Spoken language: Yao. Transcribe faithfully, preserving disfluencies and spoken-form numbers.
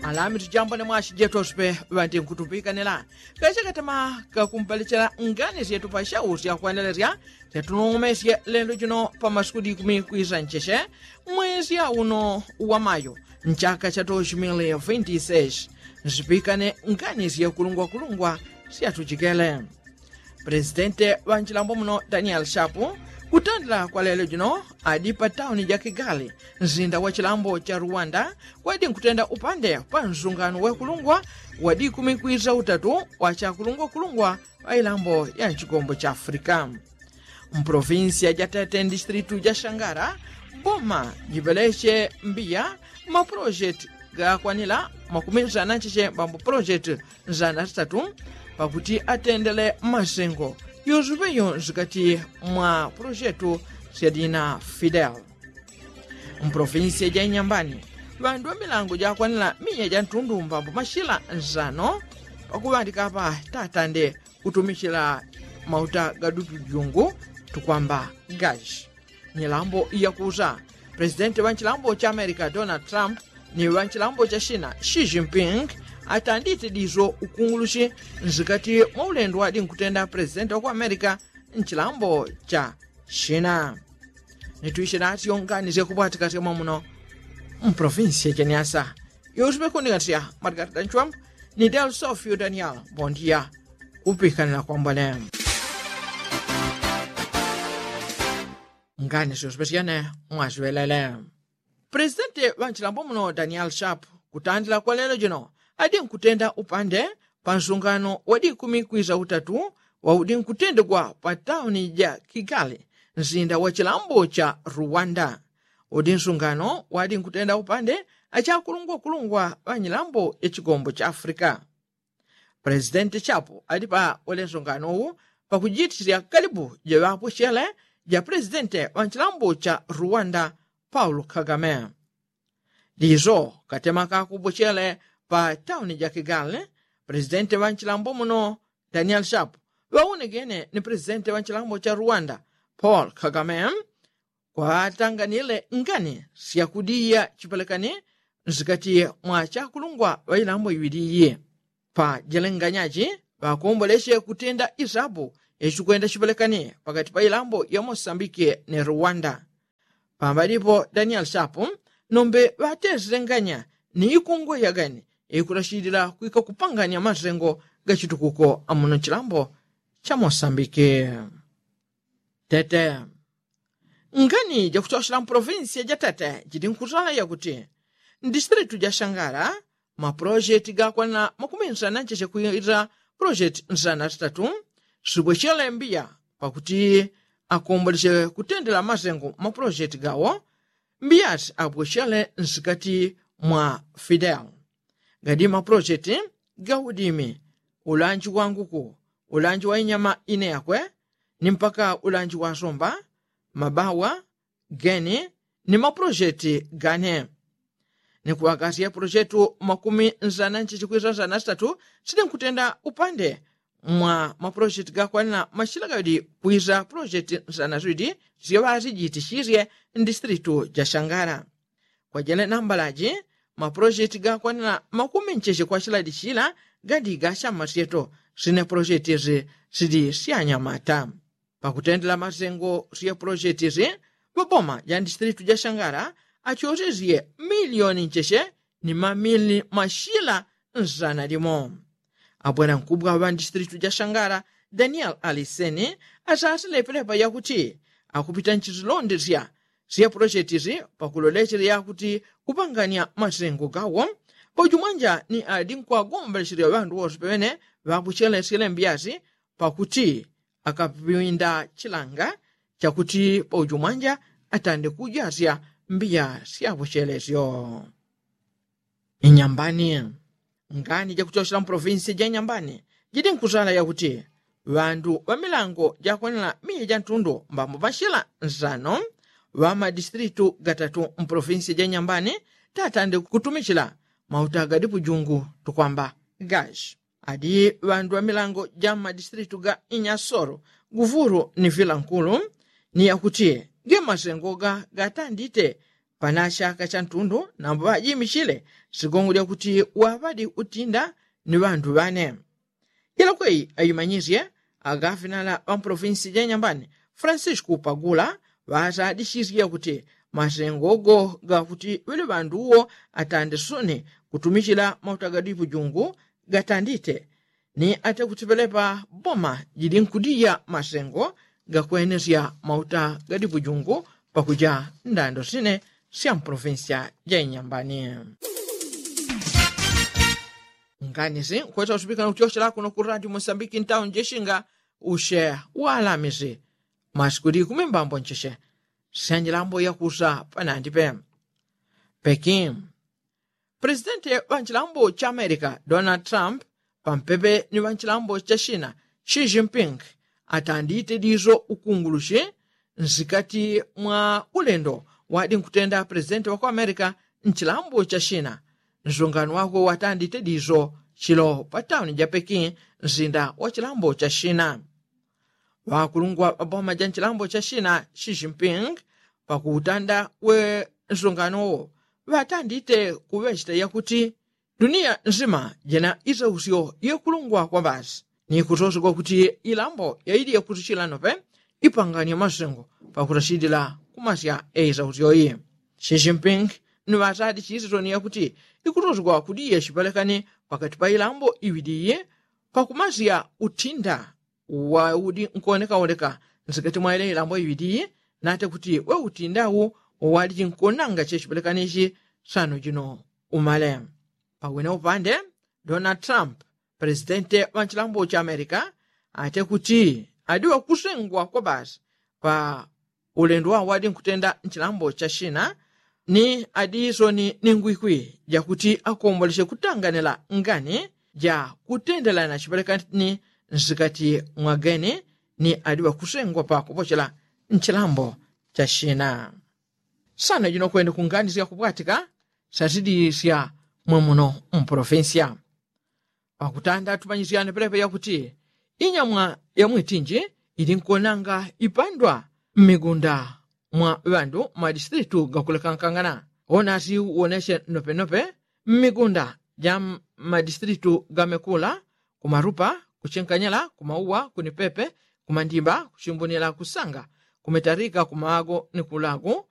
Alamitu jambo ni mwashi jetu asupe ŵanti nkutupikanila kachakatama kakumpalichila ngani syetu pa shau syakwanelesya syatunong'omesye lelo jino pa masuku dikumi kwisa ncheshe mwezi auno wa mayo nchaka cha doshi mili vinti seshi. Nsipikane ngani syekulungwakulungwa syatujikele. Presidente ŵa nchilambo muno daniel shapu kutandila kwa lelo jino adi pa tauni ja kigali nsinda wa chilambo cha ruwanda kwadi nkutenda upande pa nsungano wekulungwa wadi kumikwisa utatu wa chakulungwakulungwa ŵa ilambo ya nchigombo cha afrika. Mprovinsiya ja tete ndistritu ja shangara boma jipeleche mbiya mapulojeti gakwanila makumi nsana ncheche mbambo pulojeti nzana zitatu pakuti atendele masengo yosupeyo nsikati mwa pulojeti syadina fidel. Mpolofinsiya ja inyambani ŵandu ŵa milango jakwanila miya ja ntundu mbambo mashila nsano pakuŵandika apa tatande kutumichila mauta ga dutujungu tukwamba gashi. Nyilambo iyakusa presidenti ŵa nchilambo cha amerika donald trump ni ŵa nchilambo cha shina xi jinping atandite diso ukungulushi nsikati mwa ulendo wadi nkutenda presidenti wa ku amerika nchilambo cha shina. Nitwishe natyo ngani syakubwatika sya mwamuno mpolofinsiya cha nyasa yosupekundingatisya mwatikati da nchwambu ni del sofio daniel bondia kupikanila kwambone. Ngani syosupeshane mwasiŵelele. Presidenti ŵa nchilambo muno daniel sharp kutandila kwa lelo jino adi nkutenda upande pa nsungano wa dikumi kwisa utatu waudi nkutendegwa pa tauni ja kigali nsinda wa chilambo cha ruwanda. Udi nsungano wadi nkutenda upande achakulungwakulungwa ŵa nyilambo ya chigombo cha afrika. Presidenti chapo ali pa ulensongano uwu pakujitishila kalibu ja ŵapwechele ja presidenti ŵa nchilambo cha ruwanda paulo kagame. Liso katema kakupwechele pa tauni ja kigali presidenti ŵa nchilambo muno daniel shapu ŵaunegene ni presidenti ŵa nchilambo cha ruwanda paulo kagame kwaŵatanganile ngani syakudiya chipelekani nsikati mwa chakulungwa ŵa ilambo iŵili iyi. Pa jelenganyaji ŵakomboleche kutenda isapu yachikwenda chipelekani pakati pa ilambo ya mosambiki ni ruwanda. Pambalipo daniel shapu nombe ŵatesile nganya ni ikungwe yagani ikulachilila kwika kupanganya masengo ga chitukuko amuno nchilambo cha mosambiki. Tete. Ngani jakuchochela mpolofinsiya ja tete jili nkutala yakuti ndistritu ja shangala mapulojeti gakwanila makumi nsana ncheche kwila pulojeti nsana zitatu sibwechele mbiya pakuti akomboleche kutendela masengo mapulojeti gawo. Mbiyati abwechele nsikati mwa fidel gadi mapulojeti ga udimi ulanji wa nguku ulanji wa inyama ine yakwe ni mpaka ulanji wa somba mabawa geni ni mapulojeti gane. Ni kuŵagasya pulojeti makumi nsana nchichi kwisa nsana sitatu sili nkutenda upande mwa mapulojeti gakwanila mashila gaŵili kwisa pulojeti nsana ziŵili syaŵazijitishisye ndistritu ja shangala. Kwajene nambalaji mapulojeti gakwanila makumi ncheche kwa chiladi chila gadi ga chama syeto sine pulojeti zi sili syanyamata. Pakutendela masengo sye pulojeti zi ŵaboma ja ndistritu ja shangala achosesye miliyoni ncheche ni mamili mashila nsana limo. Abwela nkubwa ŵa ndistritu ja shangala daniel aliseni asasile pelepa yakuti akupita nchizilondesya sye pulojeti zi pakulolechela yakuti kupanganya masengo gawo paujumwanja ni adi nkwagomboleselya ŵandu wose pene ŵakuchelesyele mbyasi pakuti akapinda chilanga chakuti paujumwanja atande kujasya mbiya syakuchelesyo. Inyambani. Ngani jakuchochela mpolofinsiya ja inyambani jidi nkusala yakuti ŵandu ŵa milango jakwanila miya ja ntundu mbambo mashila nsano ŵa madistritu gatatu mpolofinsiya ja inyambani tatande kutumichila mauta ga dipujungu tukwamba gashi. Adi ŵandu ŵa milango ja madistritu ga inyasoro guvulu ni vilankulu ni yakuti ge masengo ga gatandite Pana shaka sha ntundu nambo ŵajimichile sigongo lyakuti waŵadi utinda ni ŵandu ŵane. Ilakweyi ayimanyisye agafinala ŵampolofinsi ja inyambani francisco pagula ŵasadisisye kuti masengo go gakuti ŵele ŵandu uwo atande soni kutumichila mauta ga dipujungu gatandite ni ate kuti ŵelepa boma jili nkudija masengo gakwenesya mauta ga dipujungu pakuja ndando sine sya mpolofinsi ja inyambani. Nganisi nkwesa usupikana kutyosela kuno ku radio mosambiki ntauni jeshinga ushe walamisi masiku likumi mbambo ncheche syanjilambo yakusa panandi pe. Pekin. Presidenti wa nchilambo cha amerika donald trump pampepe ni wa nchilambo cha shina xi jinping atandite diso ukungulushi nsikati mwa ulendo wadi nkutenda presidenti wa ku amerika nchilambo cha shina. Nsungano wakwe watandite diso chilo pa tauni ja pekin nsinda wa chilambo cha shina. Ŵakulungwa ŵa boma ja nchilambo cha shina xi jinping pakuutanda we nsungano wo ŵatandite kuŵechita yakuti duniya nzima jena isausyo yekulungwa kwa basi ni kutosegwa kuti ilambo yaili yakusichila nope ipanganya masengo pakusasilila kumasya eisausyo yi. Xi jinping ni ŵasadi chisisoni yakuti ikutosegwa kuti yesipelekane pakati pa ilambo iŵili yi pakumasya utinda uwaudi nkuonekaoneka nsikati mwa ile ilambo iŵili yi nate kuti we utinda wu uwaliji nkuonanga chesipelekane ichi sano jino umale. Pawene upande donald trump presidente wa nchilambo cha amerika ate kuti adi wakusengwa kwa basi pa ulendo wawo wadi nkutenda nchilambo cha shina ni adi isoni ni ngwikwi jakuti akomboleche kutanganila ngani ja kutendelana chipelekani nsikati mwa geni ni adi wakusengwa pakupochela nchilambo cha shina. Sana jino kwene kunganisya kupwatika sasidilisya mwemuno mpolofinsya. Pakutanda tumanyisyane pelepe yakuti inyamwa ya mwitinji ili nkuonanga ipandwa mmigunda mwa ŵandu mmadistritu gakulekankangana. Onasi uonesye nopenope mmigunda ja mmadistritu gamekula kumarupa kuchinkanyala kumauwa kunipepe kumandimba kuchimbunila kusanga kumetarika kumago ni kulagu